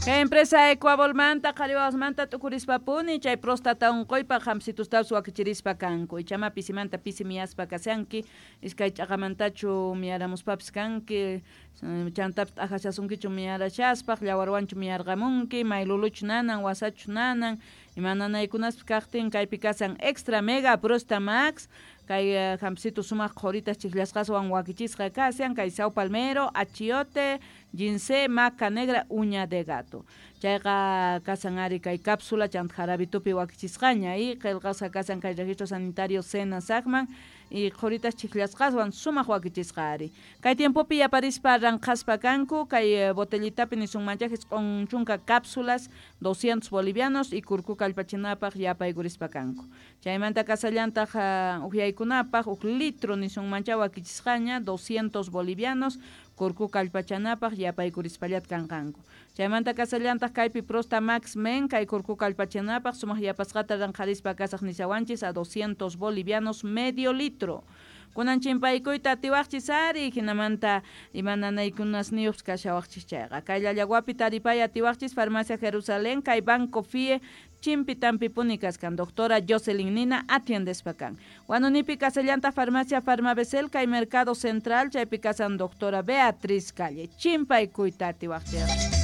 Kay empresa Ecuavolmanta qhariwawasmanta t'ukurispapuni chay próstata unquypaq hampsitustapis wakichirispa kanku. Ichama pisimanta pisi miyaspa kashanki, iskay ch'aqamantachu miyaramuspapis kanki, chantapis t'ajashasunkichu miyarashaspaq, llawarwanchu miyarqamunki, mayluluchu nanan, wasachu nanan, ima nanaykunaspis kaqtin kaypi kasan Extra Mega Prosta Max, kay hampsitu sumaq qhoritas chijllasqaswan wakichisqa kashan, kay Sao Palmero, achiote, ginseng, maca negra, uña de gato. Chayqa kasan ari kay cápsula chanta jarabitupi wakichisqaña y qillqasqa kasan kay registro sanitario SENASACman y qhoritas chijllasqaswan sumaq wakichisqa ari. Kay tiempopi yaparispa ranqhaspa kanku kay botellitapi nisunmanchá 90 cápsulas 200 bolivianos y kurku kallpachinapaq yapaykurispa kanku. Chaymanta kasallantaq uhyaykunapaq huk litro nisunmanchá wakichisqaña 200 bolivianos kurku kallpachanapaq yapaykurispallataj kanqanku. Chaymanta kasallantaq kaypi Prosta Max Men kay kurku kallpachanapaq sumaq yapasqata ranqharispa kasaq nishawanchis a 200 bolivianos medio litro. Kunan chimpaykuyta atiwaqchis ari hinamanta ima nanaykunasniyuqpis kashawaqchis chayqa. Kay Llallaguapi taripay atiwaqchis Farmacia Jerusalén kay Banco FIE chimpitanpipuni kaskan doctora Jocelyn Nina atiendespa kan. Huanunipi kasallanta Farmacia Farmabesel kay Mercado Central chaypi kasan doctora Beatriz Calle. Chimpaykuyta atiwaqchis.